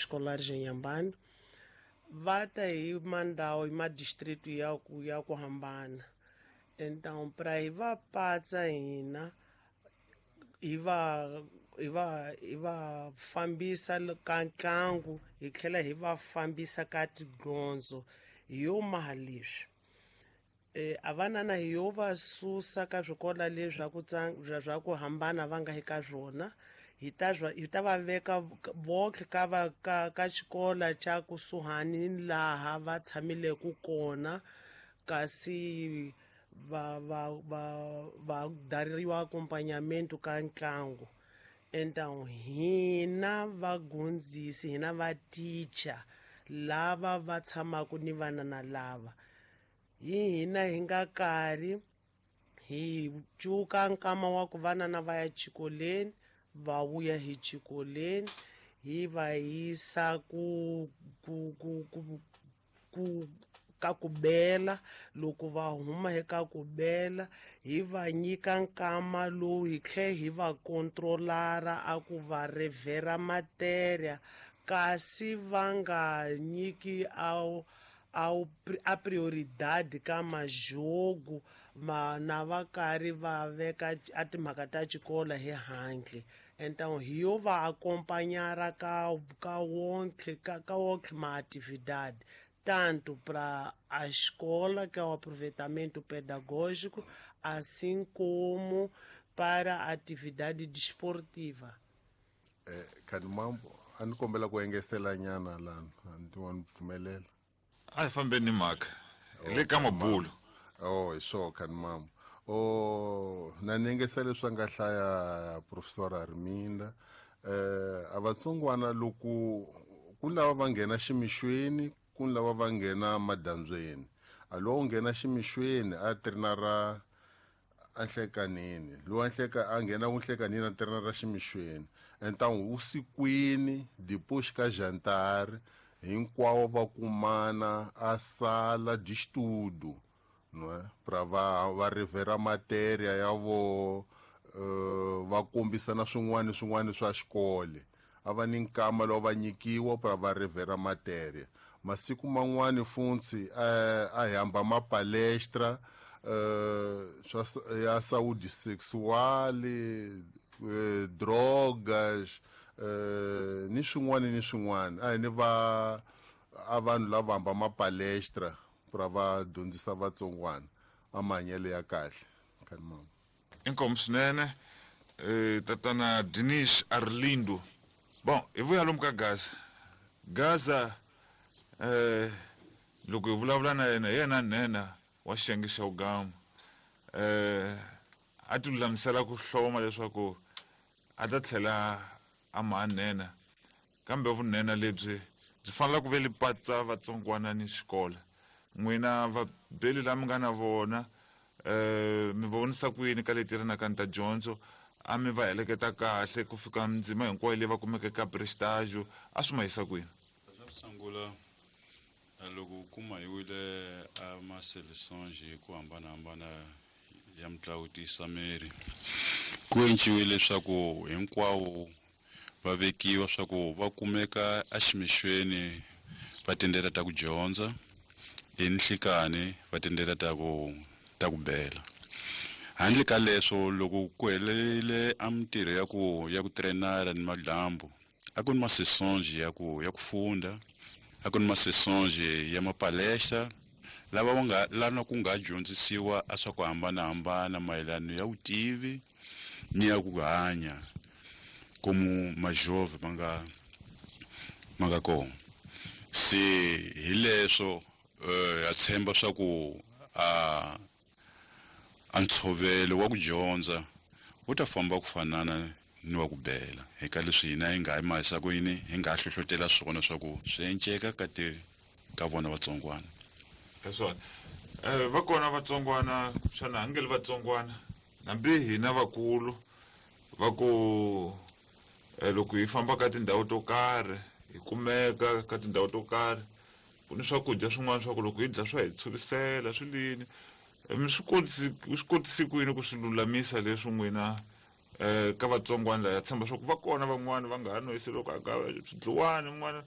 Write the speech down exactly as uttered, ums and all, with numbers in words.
Escolares em Inhambane va ta hi mandhawu hi madistrito ya ku ya ku hambana. Então para hi va patsa hina hi va hi va hi va fambisa ka ntlangu, hi tlhela hi va fambisa ka tidyondzo hi yo maha leswi e a vanana hi yo va susa ka swikolo leswi swa ku swa ku hambana va nga eka swona, hi ta hi ta va veka vonke ka va ka ka xikolo xa kusuhani ni laha va tshamileke kona, kasi va va va va dariwa acompanhamento ka ntlangu. Então hina vagondzisi, hina va teacher lava va tshamaka ni vanana lava, hi hina hi nga karhi hi cuka nkama wa ku vanana va ya xikolweni, va vuya hi xikolweni, hi va yisa ku ku ku ku ku ka ku bela. Loko va huma eka ku bela, hi va nyika nkama lowu hi tlhe hi va controlara a ku va revhera matéria, kasi va nga nyiki a a a prioridade ka majogo ma na va karhi va veka a timhaka ta xikolo hi handle. Então hi yo va acompanhar ka ka wonke ka, ka wonke ma atividade, tanto para a escola, que é o aproveitamento pedagógico, assim como para a atividade desportiva. Eh, Kanimambo, a ni kombela ku engetela nyana lana, a ni wa ni pfumelela. A hi fambeni ni mhaka hi le ka mabulo. Oh, hi swo Kanimambo. Oh, na ni engetela leswi a nga hlaya professor Arminda. Eh, a vatsongwana loko ku lava va nghena ximixweni, ku lava va nghena madyambyeni. A lowu nghena ximixweni a trenara a nhlekanini, lowu a nhleka a nghena ku nhlekanini a trenara ximixweni. Então vusikwini depois ka jantar hinkwawo va kumana a sala de estudo, não é? Pra va va revera matéria ya vo uh, va kombisana swin'wana swin'wana swa xikolo. A va ni nkama lowu va nyikiwa pra va revera matéria. Masiku man'wani funtsi eh, a hi hamba ma palestra eh, swa ya saúde sexual, eh, drogas, eh, ni swin'wana ni swin'wana. A hi ni va a vanhu lava hamba ma palestra pra va dyondzisa vatsongwana a mahanyelo ya kahle. Kanimambo. Inkomu swinene eh, tatana Dinis Arlindo. Bon, hi vuya lomu ka Gaza. Gaza eh loko hi vulavula na yena, hi yena nhenha wa xiyenge xa Ugama. Eh a ti lulamisela ku hloma leswaku a ta tlhela a ma nhenha, kambe vunhenha lebyi byi fanele ku ve li patsa vatsongwana ni xikolo. N'wina vabeli la mi nga na vona eh mi vonisa ku yini ka leti ri na ta dyondzo? A mi va heleketa kahle ku fika ndzima hinkwayo leyi va kumeke ka prestage, a swi ma yisa kwini? Xa ku sungula, loko u kuma hi wile a ma seleções hi ku hambanahambana ya mitlangu tiyisa miri, ku enciwile leswaku hinkwawo va vekiwa swa ku va kumeka eximixweni va tindlela ta ku dyondza, enhlikani va tindlela ta ku ta ku bela. Handle ka leswo, loko ku helele a mintirho ya ku ya ku trenara ni madyambu, a ku ni ma sessões ya ku ya ku funda, a ku ni ma sessões ya mapalestra lava va nga lana ku nga dyondzisiwa a swa ku hambanahambana mayelana ya vutivi ni ya ku hanya como majove ma nga ma nga kona. Se hi leswo eh ha tshemba swa ku a a ntshovelo wa ku dyondza wu ta famba ku fanana ni wa ku bela hi ka leswi hina hi nga hi ku yini hi nga hlohlotela swona swa ku swi enceka ka ti ka vona vatsongwana. Hi swona eh va kona vatsongwana xana a nge li vatsongwana hambi hina vakulu va ku eh, loko hi famba ka tindhawu to karhi, hi kumeka ka tindhawu to karhi, ku ni swakudya swin'wana swa ku loko hi dya swa hi tshurisela swi lini. Mi swi kotisi swi kotisi ku yini ku swi lulamisa leswi n'wina eh ka vatsongwana laya tshemba swa ku va kona van'wani va nga ha noyisi loko a ka swidliwani n'wana?